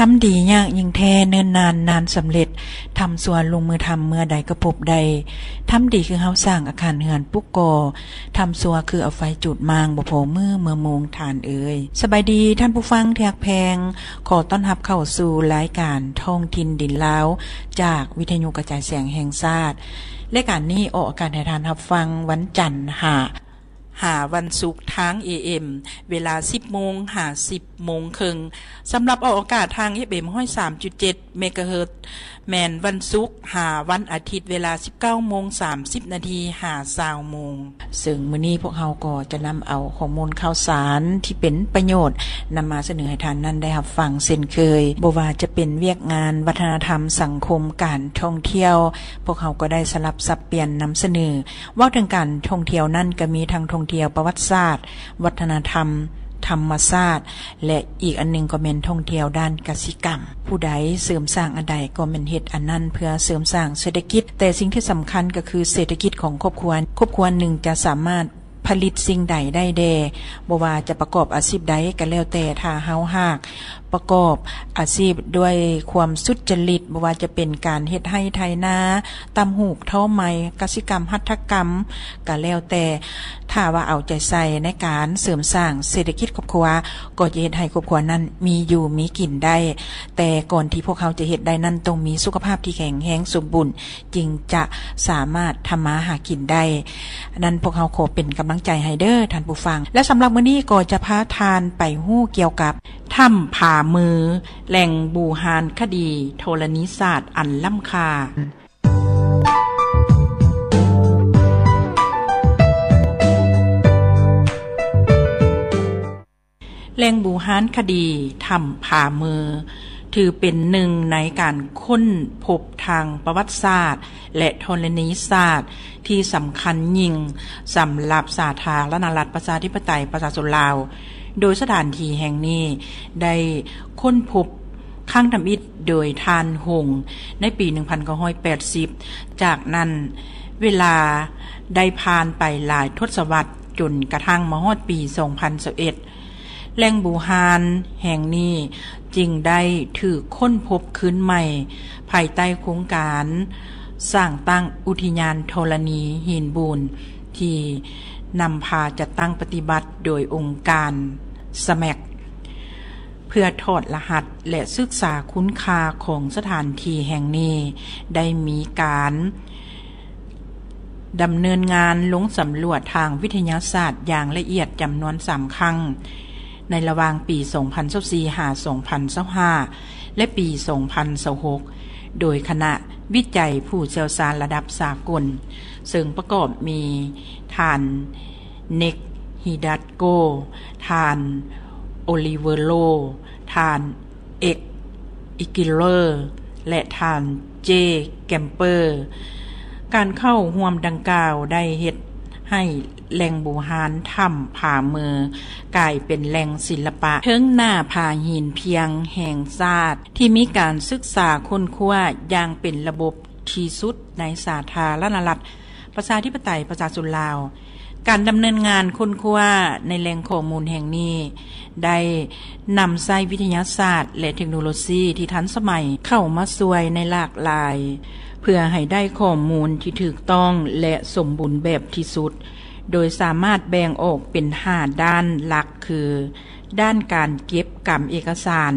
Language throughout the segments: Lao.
ທຳດີຍາກຍິ່ງແທ້ ເນີນນານນານສຳເລັດ, ທຳຊົ່ວລົງມືທຳ ເມື່ອໃດກໍພົບໄດ້. ທຳດີຄືເຮົາສ້າງອາຄານເຮືອນປຸກກໍ່, ທຳຊົ່ວຄືເອົາໄຟຈູດມ້າງ ບໍ່ພໍມື້ເມື່ອໂມງທ່ານເອີຍ. ສະບາຍດີທ່ານຜູ້ຟັງທີ່ຮັກແພງ, ຂໍຕ້ອນຮັບເຂົ້າສູ່ລາຍການທ້ອງຖິ່ນດິນລາວ ຈາກວິທະຍຸກະຈາຍສຽງແຫ່ງຊາດ. ລາຍການນີ້ອອກອາກາດໃຫ້ທ່ານຮັບຟັງວັນຈັນຫາ ຫາວັນສຸກທາງ ເອເອັມ ເວລາ ສິບໂມງ ຫາ ສິບໂມງເຄິ່ງ. ສຳລັບອອກອາກາດທາງ ເອຟເອັມ ຮ້ອຍສາມຈຸດເຈັດ ເມກາເຮີດ ແມ່ນວັນສຸກ ຫາ ວັນອາທິດ ເວລາ ສິບເກົ້າໂມງ ສາມສິບນາທີ ຫາ ຊາວໂມງ. ເຊິ່ງມື້ນີ້ພວກເຮົາກໍຈະນຳເອົາຂໍ້ມູນຂ່າວສານທີ່ເປັນປະໂຫຍດ ນຳມາສະເໜີໃຫ້ທ່ານນັ້ນໄດ້ຮັບຟັງເຊັ່ນເຄີຍ. ບໍ່ວ່າຈະເປັນວຽກງານວັດທະນະທຳ, ສັງຄົມ, ການທ່ອງທ່ຽວ, ພວກເຮົາກໍໄດ້ສະຫຼັບສັບປ່ຽນນຳສະເໜີ. ເວົ້າເຖິງການທ່ອງທ່ຽວນັ້ນ ກໍມີທັງທ່ອງທ່ຽວປະຫວັດສາດ, ວັດທະນະທຳ, ທຳມະຊາດ ແລະ ອີກອັນໜຶ່ງກໍແມ່ນທ່ອງທ່ຽວດ້ານກະສິກຳ. ຜູ້ໃດເສີມສ້າງອັນໃດກໍແມ່ນເຮັດອັນນັ້ນເພື່ອເສີມສ້າງເສດຖະກິດ, ແຕ່ສິ່ງທີ່ສຳຄັນກໍຄືເສດຖະກິດຂອງຄອບຄົວ, ຄອບຄົວໜຶ່ງຈະສາມາດຜະລິດສິ່ງໃດໄດ້ແດ່, ບໍ່ວ່າຈະປະກອບອາຊີບໃດກໍແລ້ວແຕ່, ຖ້າເຮົາຫາກ ປະກອບອາຊີບດ້ວຍຄວາມສຸດຈະລິດ, ບໍ່ວ່າຈະເປັນການເຮັດໄຮ່ໄຖນາ, ຕ່ຳຫູກ, ທໍໄໝ, ກະສິກຳ, ຫັດຖະກຳ ກະແລ້ວແຕ່, ຖ້າວ່າເອົາໃຈໃສ່ໃນການເສີມສ້າງເສດຖະກິດຄອບຄົວ, ກໍຈະເຮັດໃຫ້ຄອບຄົວນັ້ນມີຢູ່ມີກິນໄດ້. ແຕ່ກ່ອນທີ່ພວກເຮົາຈະເຮັດໄດ້ນັ້ນ, ຕ້ອງມີສຸຂະພາບທີ່ແຂງແຮງສົມບູນ, ຈຶ່ງຈະສາມາດທຳມາຫາກິນໄດ້. ນັ້ນພວກເຮົາຂໍເປັນກຳລັງໃຈໃຫ້ເດີ້ທ່ານຜູ້ຟັງ. ແລະ ສຳລັບມື້ນີ້ກໍຈະພາທ່ານໄປຮູ້ກ່ຽວກັບ ຖ້ຳຜາມື, ແຫຼ່ງບູຮານຄະດີທໍລະນີສາດອັນລ້ຳຄ່າ. ແຫຼ່ງບູຮານຄະດີ ຖ້ຳຜາມື ຖືເປັນໜຶ່ງໃນການຄົ້ນພົບທາງປະຫວັດສາດ ແລະ ທໍລະນີສາດທີ່ສຳຄັນຍິ່ງສຳລັບສາທາລະນະລັດ ປະຊາທິປະໄຕ ປະຊາຊົນລາວ, ໂດຍສະຖານທີ່ແຫ່ງນີ້ໄດ້ຄົ້ນພົບຄັ້ງທຳອິດໂດຍທ່ານຫົງໃນປີໜຶ່ງພັນເກົ້າຮ້ອຍແປດສິບ. ຈາກນັ້ນເວລາໄດ້ຜ່ານໄປຫຼາຍທົດສະວັດ ຈົນກະທັ້ງມາຮອດປີສອງພັນຊາວເອັດ ແຫຼ່ງບູຮານແຫ່ງນີ້ຈຶ່ງໄດ້ຖືກຄົ້ນພົບຄືນໃໝ່ ພາຍໃຕ້ໂຄງການສ້າງຕັ້ງອຸທິຍານທໍລະນີຫີນບູນ ທີ່ນຳພາຈັດຕັ້ງປະຕິບັດໂດຍອົງການ ສະແມັກ ເພື່ອຖອດລະຫັດ ແລະ ສຶກສາຄຸນຄ່າຂອງສະຖານທີ່ແຫ່ງນີ້. ໄດ້ມີການ ດຳເນີນງານລົງສຳຫຼວດທາງວິທະຍາສາດຢ່າງລະອຽດຈຳນວນສາມຄັ້ງ ໃນລະຫວ່າງປີສອງພັນຊາວສີ່ ຫາ ສອງພັນຊາວຫ້າ ແລະ ປີສອງພັນຊາວຫົກ ໂດຍຄະນະວິໄຈຜູ້ຊ່ຽວຊານລະດັບສາກົນ, ເຊິ່ງປະກອບມີທ່ານ ເນັກ ຮີດັດໂກ, ທ່ານ ໂອລິເວີໂລ, ທ່ານ ເອັກ ອີກິເລີ ແລະ ທ່ານ ເຈ ແກມເປີ. ການເຂົ້າຮ່ວມດັ່ງກ່າວໄດ້ເຮັດໃຫ້ແຫຼ່ງບູຮານຖ້ຳຜາເມີ ກາຍເປັນແຫຼ່ງສິລະປະເທິງໜ້າຜາຫີນພຽງແຫ່ງຊາດ ທີ່ມີການສຶກສາຄົ້ນຄວ້າຢ່າງເປັນລະບົບທີ່ສຸດໃນສາທາລະນະລັດ ປະຊາທິປະໄຕປະຊາຊົນລາວ. ການດຳເນີນງານຄົ້ນຄວ້າໃນແຫຼ່ງຂໍ້ມູນແຫ່ງນີ້ ໄດ້ນຳໃຊ້ວິທະຍາສາດ ແລະ ເທັກໂນໂລຊີທີ່ທັນສະໄໝເຂົ້າມາຊ່ວຍໃນຫຼາກຫຼາຍ ເພື່ອໃຫ້ໄດ້ຂໍ້ມູນທີ່ຖືກຕ້ອງ ແລະ ສົມບູນແບບທີ່ສຸດ, ໂດຍສາມາດແບ່ງອອກເປັນຫ້າດ້ານຫຼັກ ຄື ດ້ານການເກັບກຳເອກະສານ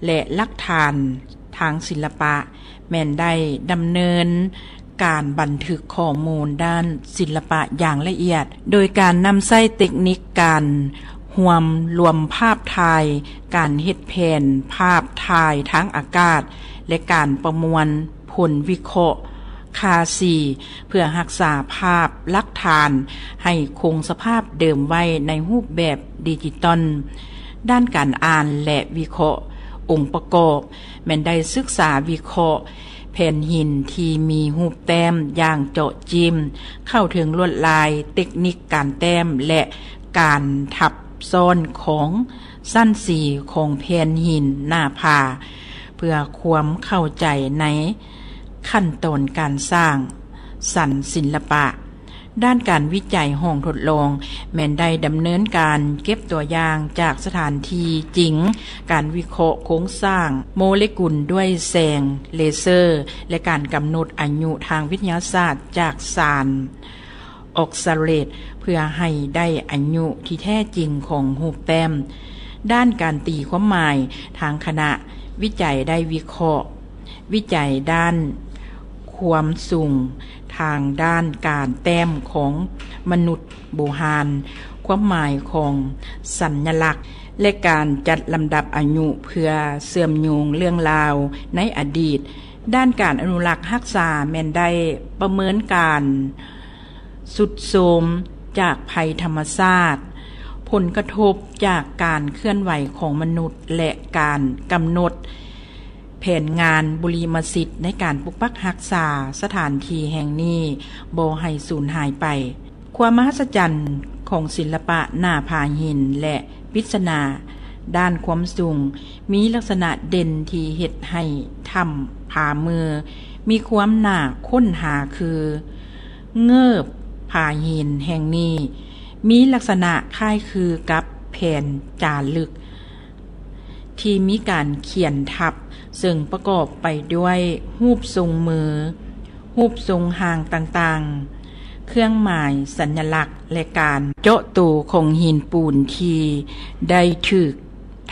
ແລະ ຫຼັກຖານທາງສິລະປະ ແມ່ນໄດ້ດຳເນີນການບັນທຶກຂໍ້ມູນດ້ານສິລະປະຢ່າງລະອຽດ ໂດຍການນຳໃຊ້ເຕັກນິກການຮວມລວມພາບຖ່າຍ, ການເຮັດແຜນພາບຖ່າຍທາງອາກາດ ແລະ ການປະມວນຜົນວິເຄາະຄ່າສີ ເພື່ອຮັກສາພາບຫຼັກຖານໃຫ້ຄົງສະພາບເດີມໄວ້ໃນຮູບແບບດິຈິຕອນ. ດ້ານການອ່ານ ແລະ ວິເຄາະອົງປະກອບ ແມ່ນໄດ້ສຶກສາວິເຄາະແຜ່ນຫີນທີ່ມີຮູບແຕ້ມຢ່າງເຈາະຈິ້ມ ເຂົ້າເຖິງລວດລາຍ, ເຕັກນິກການແຕ້ມ ແລະ ການທັບຊ້ອນຂອງຊັ້ນສີຂອງແຜ່ນຫີນໜ້າຜາ ເພື່ອຄວາມເຂົ້າໃຈໃນຂັ້ນຕອນການສ້າງສັນສິລະປະ. ດ້ານການວິໄຈຫ້ອງທົດລອງ ແມ່ນໄດ້ດຳເນີນການເກັບຕົວຢ່າງຈາກສະຖານທີ່ຈິງ, ການວິເຄາະໂຄງສ້າງໂມເລກຸນດ້ວຍແສງເລເຊີ ແລະ ການກຳນົດອາຍຸທາງວິທະຍາສາດຈາກສານອອກຊາເຣດ ເພື່ອໃຫ້ໄດ້ອາຍຸທີ່ແທ້ຈິງຂອງຮູບແຕ້ມ. ດ້ານການຕີຄວາມໝາຍ, ທາງຄະນະວິໄຈໄດ້ວິເຄາະ ວິໄຈດ້ານຄວາມສູງທາງດ້ານການແຕ້ມຂອງມະນຸດບູຮານ, ຄວາມໝາຍຂອງສັນຍະລັກ ແລະ ການຈັດລຳດັບອາຍຸເພື່ອເຊື່ອມໂຍງເລື່ອງລາວໃນອະດີດ. ດ້ານການອະນຸລັກຮັກສາແມ່ນໄດ້ປະເມີນການ ຊຸດໂຊມຈາກໄພທຳມະຊາດ, ຜົນກະທົບຈາກການເຄື່ອນໄຫວຂອງມະນຸດ ແລະ ການກຳນົດແຜນງານບຸລິມະສິດໃນການປົກປັກຮັກສາສະຖານທີ່ແຫ່ງນີ້ບໍ່ໃຫ້ສູນຫາຍໄປ. ຄວາມມະຫັດສະຈັນຂອງສິລະປະໜ້າຜາຫີນ ແລະ ປິດສະໜາດ້ານຄວາມສູງ ມີລັກສະນະເດັ່ນທີ່ເຮັດໃຫ້ຖ້ຳຜາມືມີຄວາມໜ້າຄົ້ນຫາຄື ເງີບຜາຫີນແຫ່ງນີ້ມີລັກສະນະຄ້າຍຄືກັບແຜນຈາລຶກທີ່ມີການຂຽນທັບ, ເຊິ່ງປະກອບໄປດ້ວຍຮູບຊົງມື, ຮູບຊົງຮ່າງຕ່າງໆ, ເຄື່ອງໝາຍສັນຍະລັກ ແລະ ການເຈາະໂຕຂອງຫີນປູນທີ່ໄດ້ຖືກ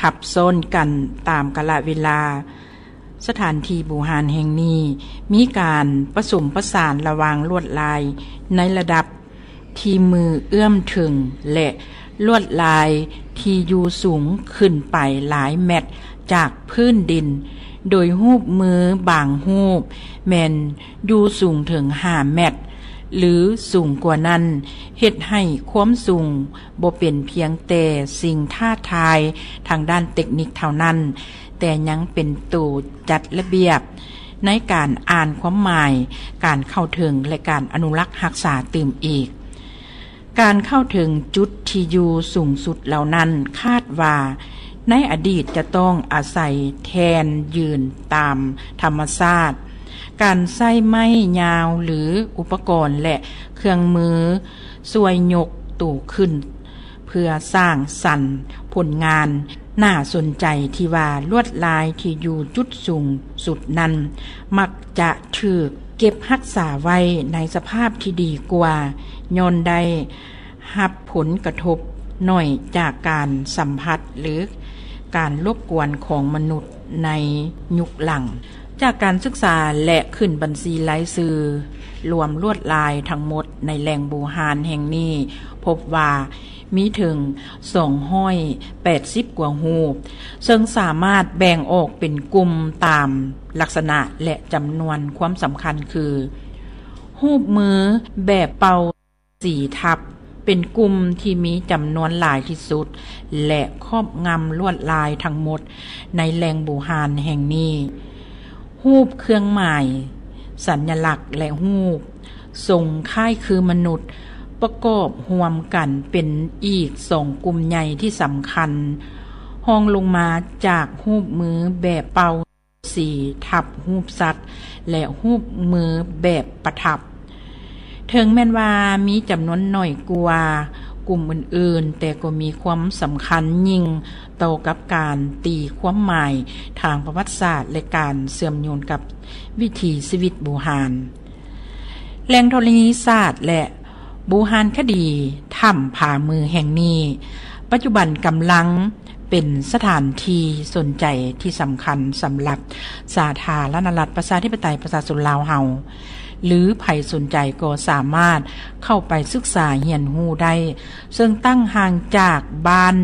ທັບຊ້ອນກັນຕາມກາລະເວລາ. ສະຖານທີ່ບູຮານແຫ່ງນີ້ມີການປະສົມປະສານລະຫວ່າງລວດລາຍໃນລະດັບທີ່ມືເອື້ອມເຖິງ ແລະ ລວດລາຍທີ່ຢູ່ສູງຂຶ້ນໄປຫຼາຍແມັດຈາກພື້ນດິນ, ໂດຍຮູບມືບາງຮູບແມ່ນຢູ່ສູງເຖິງຫ້າແມັດ ຫຼື ສູງກວ່ານັ້ນ, ເຮັດໃຫ້ຄວາມສູງບໍ່ເປັນພຽງແຕ່ສິ່ງທ້າທາຍທາງດ້ານເຕັກນິກເທົ່ານັ້ນ, ແຕ່ຍັງເປັນໂຕຈັດລະບຽບໃນການອ່ານຄວາມໝາຍ, ການເຂົ້າເຖິງ ແລະ ການອະນຸລັກຮັກສາຕື່ມອີກ. ການເຂົ້າເຖິງຈຸດທີ່ຢູ່ສູງສຸດເຫຼົ່ານັ້ນ ຄາດວ່າໃນອະດີດຈະຕ້ອງອາໄສແທ່ນຢືນຕາມທຳມະຊາດ, ການໃຊ້ໄມ້ຍາວ ຫຼື ອຸປະກອນ ແລະ ເຄື່ອງມືຊ່ວຍຍົກໂຕຂຶ້ນ ເພື່ອສ້າງສັນຜົນງານໜ້າສົນໃຈທີ່ວ່າລວດລາຍທີ່ຢູ່ຈຸດສູງສຸດນັ້ນ ມັກຈະຖືກເກັບຮັກສາໄວ້ໃນສະພາບທີ່ດີກວ່າ, ຍ້ອນໄດ້ຮັບຜົນກະທົບໜ້ອຍຈາກການສຳຜັດ ຫຼື ການລົບກວນຂອງມະນຸດໃນຍຸກຫຼັງ. ຈາກການສຶກສາ ແລະ ຂຶ້ນບັນຊີລາຍຊື່ລວມລວດລາຍທັງໝົດໃນແຫຼ່ງບູຮານແຫ່ງນີ້ ພົບວ່າ ມີເຖິງສອງຮ້ອຍແປດສິບກວ່າຮູບ, ເຊິ່ງສາມາດແບ່ງອອກເປັນກຸ່ມຕາມລັກສະນະ ແລະ ຈຳນວນຄວາມສຳຄັນຄື ຮູບມືແບບເປົ່າສີທັບ ເປັນກຸ່ມທີ່ມີຈຳນວນຫຼາຍທີ່ສຸດ ແລະ ຄອບງຳລວດລາຍທັງໝົດໃນແຫຼ່ງບູຮານແຫ່ງນີ້. ຮູບເຄື່ອງໝາຍສັນຍະລັກ ແລະ ຮູບຊົງຄ້າຍຄືມະນຸດ ປະກອບຮ່ວມກັນເປັນອີກສອງກຸ່ມໃຫຍ່ທີ່ສຳຄັນ, ຮອງລົງມາຈາກຮູບມືແບບເປົ່າສີທັບຮູບສັດ ແລະ ຮູບມືແບບປະທັບ. ເຖິງແມ່ນວ່າມີຈຳນວນໜ້ອຍກວ່າກຸ່ມອື່ນໆ, ແຕ່ກໍມີຄວາມສຳຄັນຍິ່ງຕໍ່ກັບການຕີຄວາມໝາຍທາງປະຫວັດສາດ ແລະ ການເຊື່ອມໂຍງກັບວິຖີຊີວິດບູຮານ. ແຫຼ່ງທໍລະນີສາດ ແລະ ບູຮານຄະດີຖ້ຳຜາມືແຫ່ງນີ້ ປັດຈຸບັນກຳລັງ ເປັນສະຖານທີ່ສົນໃຈທີ່ສຳຄັນສຳລັບສາທາລະນະລັດ ປະຊາທິປະໄຕ ປະຊາຊົນລາວເຮົາ ຫຼື ໃຜສົນໃຈກໍສາມາດເຂົ້າໄປສຶກສາຮຽນຮູ້ໄດ້, ເຊິ່ງຕັ້ງຫ່າງຈາກບ້ານ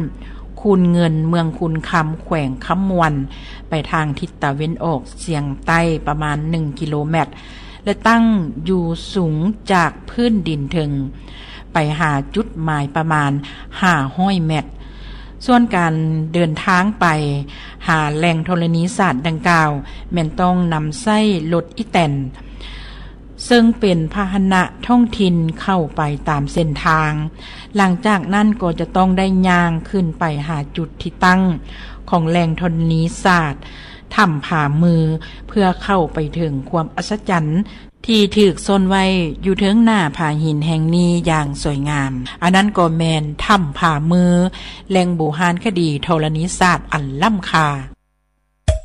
ຄູນເງິນ ເມືອງຄູນຄຳ ແຂວງຄຳມ່ວນ ໄປທາງທິດຕາເວັນອອກສຽງໃຕ້ປະມານໜຶ່ງກິໂລແມັດ ແລະ ຕັ້ງຢູ່ສູງຈາກພື້ນດິນເຖິງໄປຫາຈຸດໝາຍປະມານຫ້າຮ້ອຍແມັດ. ສ່ວນການເດີນທາງໄປຫາແຫຼ່ງທໍລະນີສາດດັ່ງກ່າວ ແມ່ນຕ້ອງນຳໃຊ້ລົດອີແຕນ ເຊິ່ງເປັນພາຫະນະທ້ອງຖິ່ນເຂົ້າໄປຕາມເສັ້ນທາງ. ຫຼັງຈາກນັ້ນກໍຈະຕ້ອງໄດ້ຍ່າງຂຶ້ນໄປຫາຈຸດທີ່ຕັ້ງຂອງແຫຼ່ງທໍລະນີສາດ ຖ້ຳຜາມື ເພື່ອເຂົ້າໄປເຖິງຄວາມອັດສະຈັນ ທີ່ຖືກຊົນໄວ້ຢູ່ເທິງໜ້າຜາຫີນແຫ່ງນີ້ຢ່າງສວຍງາມ. ອັນນັ້ນກໍແມ່ນຖ້ຳຜາມື, ແຫຼ່ງບູຮານຄະດີທໍລະນີສາດອັນລ້ຳຄ່າ.